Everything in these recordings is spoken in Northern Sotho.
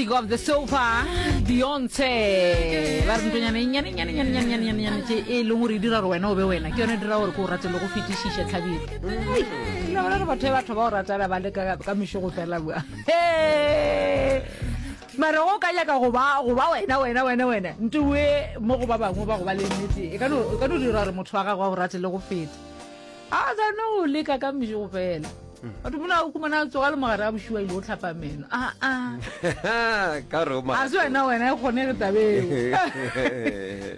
Fantastic of the sofa Beyonce ba re ntonyana e nnyane nnyane nnyane nnyane nnyane nnyane tše e leng gore e dira gore wena o be wena ke yone e dira gore ke o rate le go fetišiša tlhabiro la bona re batho ba batho ba o ratana ba le ka ka mešogo fela bua mara go ka nyaka go ba go ba wena wena wena wena ntowe mo go ba bangwe ba go ba le nnete e ka no e ka no dira gore motho wa gago a go rate le go feta A sa no leka ka mešego fela. Batho mona o khumana a tsoga le mogare a bošiwa ile o tlhapa meno. A a. Ka re o A se wena wena e kgone re tabeo.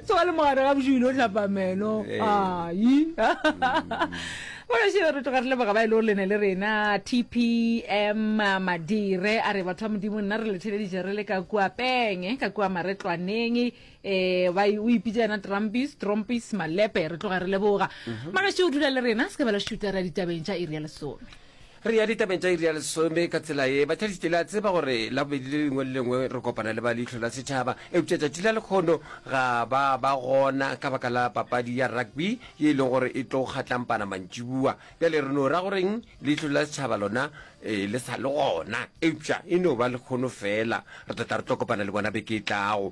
Tsoga le mogare ga bošiwa ile o tlhapa meno. Ai. Bona še re tloga re leboga ba e le gore le ne le rena TPM Madire a re batho ba modimo nna re le theleditše re le ka kua Penge ka kua Maretlwaneng Eh, ba o ipitša yena Trumpis, Trumpis Malepe, re tloga re leboga. Mm -hmm. o dula le rena, se ka bela šuta ra ditabeng tša iri ya lesome. Re ya ditabeng tša iri ya lesome ka tsela ye. Batheletši le a tseba gore la bobedi le lengwe le lengwe re kopana le ba leihlo la setšhaba, eupša tšatši la lekgono ga ba ba gona ka baka la papadi ya rugby ye e leng gore e tlo kgatlampana mantšibua. Bjale re no ra goreng leihlo la setšhaba lona e le sa le gona, eupša e no ba lekgono fela. Re tla tla re tlo kopana le bona beke e tlago.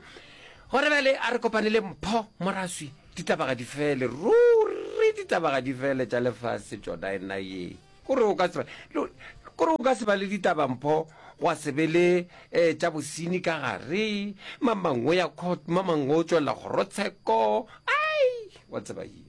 Gore bjale a re kopane le Mpho Moraswi, ditaba ga di fele, ruri ditaba ga di fele tša lefase tšona ena ye. Kore o ka se kore o ka se ba le ditaba Mpho gwa se be le eh, tša bosenyi ka gare, mamangwe ya court, mamangwe o tšwelela kgorotsheko, ai, wa tseba ye.